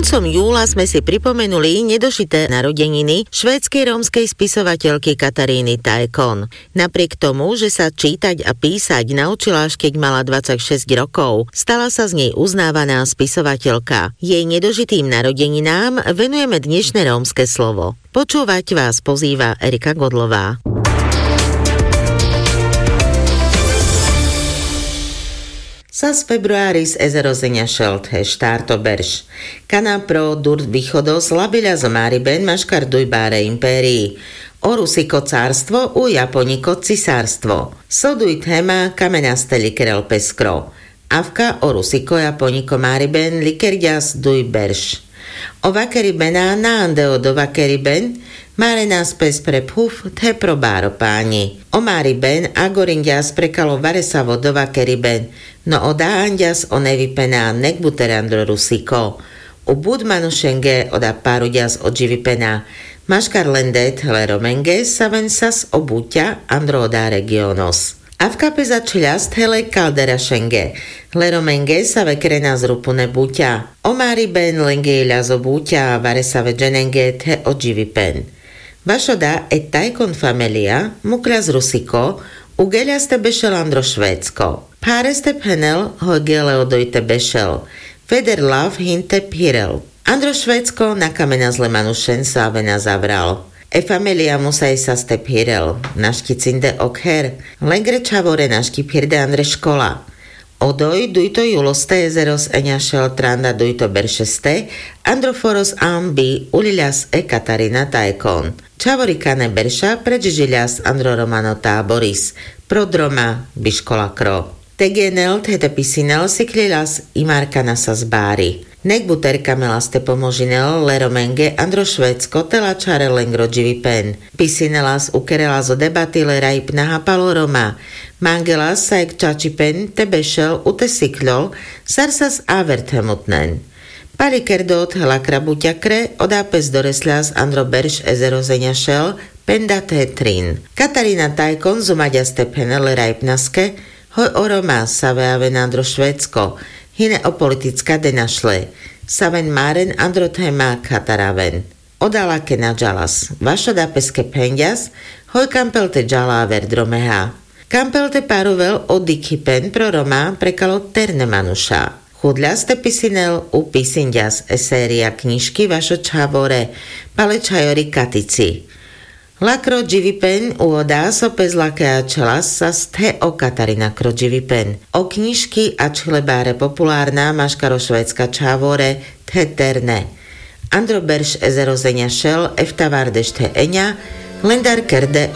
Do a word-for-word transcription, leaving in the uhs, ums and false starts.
Som júla sme si pripomenuli nedožité narodeniny švédskej rómskej spisovateľky Kataríny Tajkon. Napriek tomu, že sa čítať a písať naučila, až kedy mala dvadsaťšesť rokov, stala sa z nej uznávaná spisovateľka. Jej nedožitým narodeninám venujeme dnešné rómske slovo. Počúvať vás pozýva Erika Godlová. Sas februáris ezerozeňašel the štárto berš. Kana pro dur bichodo slabiľa zo máriben maškar duj báre impérii. O Rusiko cárstvo, u Japoniko cisárstvo. Soduj théma kamenaste likerel peskro. Avka o Rusiko Japoniko máriben likerďas duj berš. O vakeribená naande o do vakeriben, márenas pes pre phuf the pro báro páňi. O máriben agorinďas prekalo varesavo do vakeriben, no o dáanďas o nevipená nekbuter andro Rusiko. U bud manušenge oda páruďas o dživipená. Maškar len det le romenge saven sas o buťa andro oda regiónos. Avka pes ačhiľas the le kalderašenge. Le romenge save krenas rupune buťa. O máriben lenge iľas o buťa varesave dženenge the o dživipen. Vašoda e Tajkon famelia mukľas Rusiko, ugeľas te bešel andro Švédsko. Pháreste phenel hoj gele odoj te bešel. Feder lav hin te phirel. Andro Švédsko nakamenas le manušen save na zavral. E famelia musaj sas te phirel. Našti cinde ok her. Lengre čhavore našti phirde andre škola. Odoj dujto júloste ezeros eňašel tranda dujto beršeste andro foros ambi uľiľas e Katarína Tajkon. Čhavori kane berša predžižiľas andro romano táboris. Pro droma biškola kro. Te genel the te pisinel sikľiľas i markana sas bári. Nekbuter kamelas te pomožinel le romenge andro Švédsko te lačharel lengro dživipen. Pisinelas ukerelas o debati le rajpna hapalo roma. Mangelas sa ek čačipen te bešel u te sikľol sar sas aver the mutnen. Pali kerdo the lakra buťa kre oda pes doresľas andro berš ezerozeňašel penda the trin. Katarína Tajkon zumaďas te phenel le rajpnaske hoj o roma save aven andro Švédsko. Hine o politická denašle. Saven máren andro théma khataraven. Oda lake na džalas. Vašoda peske phenďas hoj kampel te džala aver dromeha. Kampel te parovel o dikhipen pro roma prekalo terne manuša. Chudľas te pisinel u pisinďas e séria knižky vašo čhavore pale čhajori katici. Lakro dživipen u oda so pes lake ačhelas sas the o Katarína kro dživipen. O knižky ačhile báre populárna maškar o Švédska čhavore the terne. Andro berš ezerozeňašel eftavardešte eňa lendar kerde